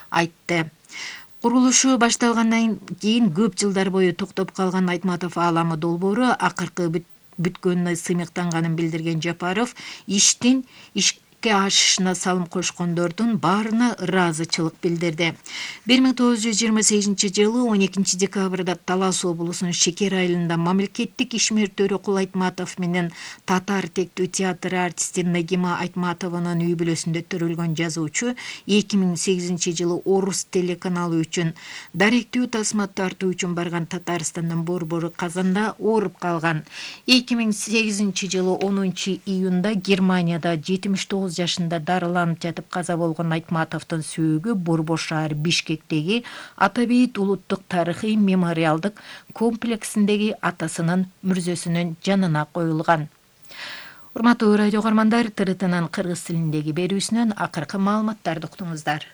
айтты. Курулушу башталгандан кийин көп жылдар бою токтоп калган Айтматов ааламы долбоору акыркы бүткөнүнө сыймыктанганын билдирген Жапаров иштин ишке ашышына салым кошкондордун баарына ыраазычылык билдирди. бир миң тогуз жүз жыйырма сегизинчи жылы он экинчи декабрда Талас облусунун Шекер айылында мамлекеттик ишмердөрү Кул Айтматов менен татар тектүү театр артисти Нагима Айтматованын үй бүлөсүндө төрөлгөн жазуучу эки миң сегизинчи жылы Орус телеканалы үчүн даректүү тасма тартуу үчүн барган Татарстандын Борбору Казанда ооруп калган. эки миң сегизинчи жылы онунчу июнда Германияда жетимиш тогуз жашында дарыланып жатып каза болгон Айтматовдун сүйөгү Борбор шаар Бишкектеги Атабейит улуттук тарыхый мемориалдык комплексиндеги атасынын мүрзөсүнүн жанына коюлган. Урматтуу радио көрөрмандар, Т Р Тнын кыргыз тилиндеги берүүсүнөн акыркы маалыматтарды уктуңуздар.